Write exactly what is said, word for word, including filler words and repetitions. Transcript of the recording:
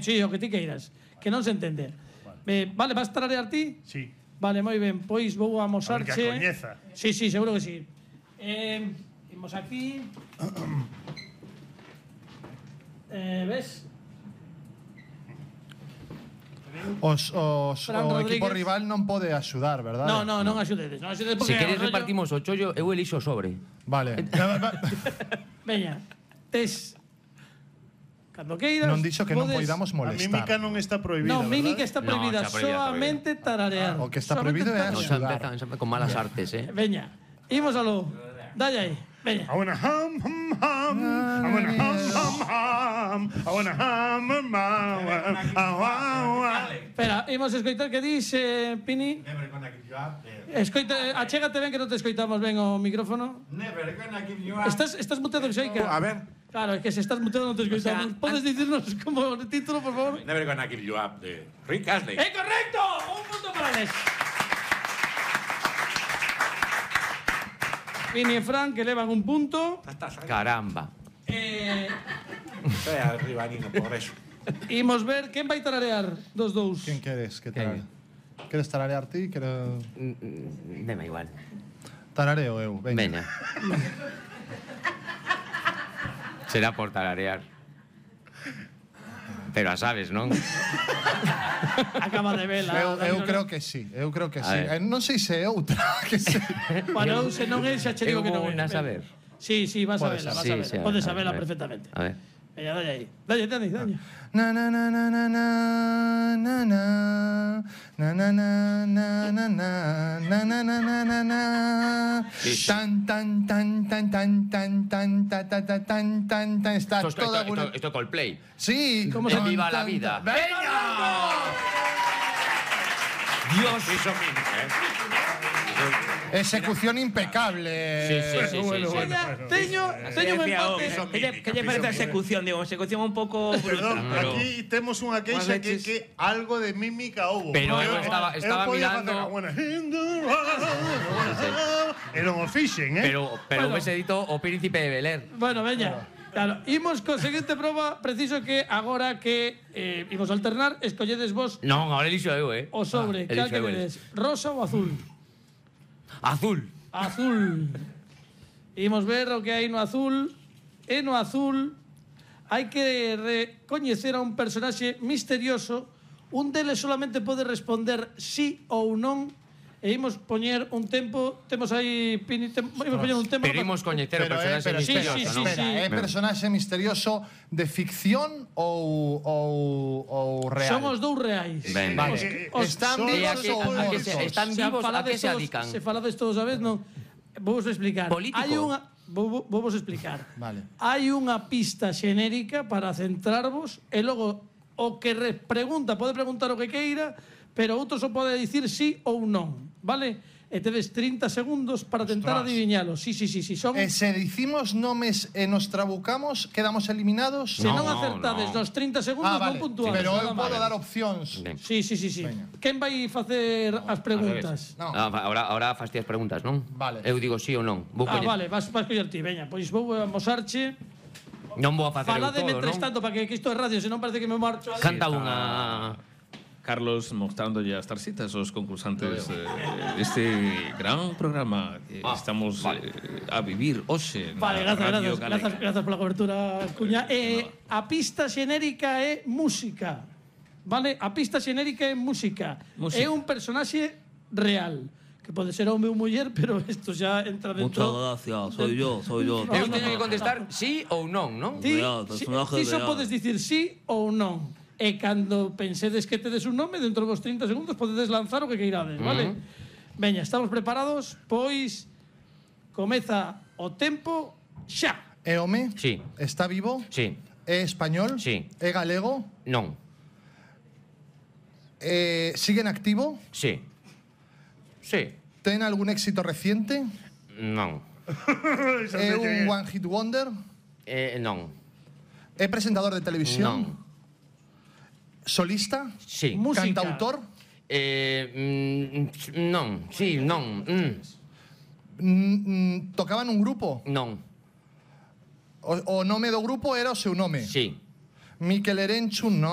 Sí, o que ti queiras. Que non se entende. Eh, vale, vas tararear ti? Sí. Vale, moi ben. Pois vou A ver amosarche. que a coñeza. Sí, sí, seguro que sí. Eh, imos aquí. eh, ves? Os, os, Fran o equipo Rodríguez. rival non pode axudar, verdade? No, no, non axudedes. Non axudedes porque Se queres o rollo- repartimos o chollo, eu elixo o sobre. Vale. Veña, tes cando queiras. Non dixo que non podes- poidamos A molestar. mímica non está prohibida, No, verdade? mímica está No, prohibida, está prohibida, está solamente tararear. O que está Solamente prohibido é No, tararear. xa Axudar. empezan, xa empezan con malas artes, eh. Veña, imos aló. Dalle aí. Veña. I wanna hum, hum, hum. I wanna hum, hum, hum. I wanna hum, hum, hum. Ah, ah, ah. Espera, imos escoitar que dis, eh, Pini. Never gonna give you up. eh. Escoita, achégate ben que non te escoitamos ben o micrófono. Never gonna give you up. Estás, estás muteado, Xeica. A ver. Claro, é que se estás muteado non te escoitamos. O sea, Podes dicirnos como o título, por favor? Never gonna give you up de Rick Astley. ¡É correcto! Un punto para Les. Pini e Fran, que levan un punto. Caramba. Eh, Estoy arriba, Nino, por eso. imos ver quen vai tararear dos dous. Quen queres que Quen? tarare? Queres tararear ti? Quero... Mm, Deme igual. Tarareo eu, veña. Veña. Será por tararear. Pero a sabes, non? Acaba de vela. Eu, eu creo que sí, eu creo que A sí. ver. Eh, non sei se é outra, que sei. Bueno, eu se non é, xa che digo Eu que non vou é. na saber. Sí, sí, vas a Podes verla, vas Sí, a verla. sí, Podes a saberla ver. perfectamente. A ver. Veña, dalle aí. Dalle, Dani, dalle. Na na na na na na na na na na na na na na na na na na na na tan tan tan tan tan tan tan ta ta ta tan tan tan está Esto, esto, toda esto, esto es Coldplay. Sí, ¿Cómo De se- Viva la tan, vida. tan. ¡Veña! Dios. Hizo mímica, ¿eh? Ejecución impecable. Sí, sí, sí, Bueno, sí, sí. bueno, Veña, bueno. teño, teño un Decía, empate. oh, ¿qué lle- ¿Qué lle parece a execución? Digo, execución un pouco bruta, Perdón, pero... aquí temos unha queixa que, veces- que algo de mímica houbo. Pero eu Eu- estaba- eu estaba podía mirando- facer a buena in the world. E non o fixen, eh? Pero, pero Bueno. ves edito o Príncipe de Bel Air. Bueno, veña. Claro, imos con seguinte proba, preciso que agora que eh, imos alternar, escolledes vos Non, ahora elixo eu, eh. o sobre, Ah, cal elixo que eu, vedes, rosa ou azul? Azul. Azul. Imos ver o que hai no azul. E no azul hai que recoñecer a un personaxe misterioso. Un deles solamente pode responder sí ou non. E imos poñer un tempo. Temos aí... Pini, tem, imos poñer un tempo. Pero imos coñecer o Pero, eh, personaxe pero espera, misterioso, sí, sí, non? espera, sí. é personaxe misterioso de ficción ou ou ou real? Son os dous reais. Ben, Vale. Eh, Os- Están solo- E a vivos que, ou a que se, mortos? están Se vivos, a que falades se todos- adican? Se falades todos a vez, non. Vou vos explicar. Político. Hai unha vou, vou, vou vos explicar. Vale. Hai unha pista xenérica para centrarvos e logo o que re pregunta pode preguntar o que queira, pero outro só pode dicir sí ou non, vale? E tedes trinta segundos para tentar Ostras. adiviñalo. Sí, sí, sí, sí, son E se dicimos nomes e nos trabucamos, quedamos eliminados? se No, non acertades no. nos trinta segundos Ah, non vale. puntuamos. Pero eu nada podo máis. dar opcións. Ben. Sí, sí, sí, sí. Veña. Quen vai facer as preguntas? No. Ah, ahora, ahora fastias preguntas, non? Vale. Eu digo sí ou non. Vou Ah, coñer- vale, vas, vas coller ti, veña, pois vou amosarche. Non vou a facer eu Falade todo, mentres non? tanto para que, que isto é radio, se non parece que me marcho. a- Canta Sí, unha... Carlos mostrándolle as tarxitas aos concursantes eh, deste gran programa que Ah, estamos vale. eh, a vivir hoxe na Vale, grazas, Radio grazas, Galega. grazas, grazas pola cobertura, Cuña. Eh, a pista xenérica é música. Vale? A pista xenérica é música. Música. É un personaxe real. Que pode ser home ou muller, pero isto xa entra dentro... gracias, soy yo, soy yo. Eu teño que contestar sí ou non, non? Ti, Real, si, personaje ti só real. podes dicir sí ou non. E cando pensedes que tedes un nome, dentro dos trinta segundos podedes lanzar o que queirades, vale? Veña, estamos preparados? Pois comeza o tempo xa. É home? Sí. Está vivo? Sí. É español? Sí. É galego? Non. Eh, sigue en activo? Sí. Sí. Ten algún éxito reciente? Non. Esa É sei que un one hit wonder? Eh, non. É presentador de televisión? Non. Solista? Sí. Música. Cantautor? Eh, mm, non. Sí, non. Mm, Mm, mm, tocaba nun grupo? non. O, o nome do grupo era o seu nome? Sí. Miquel Erenchun, non?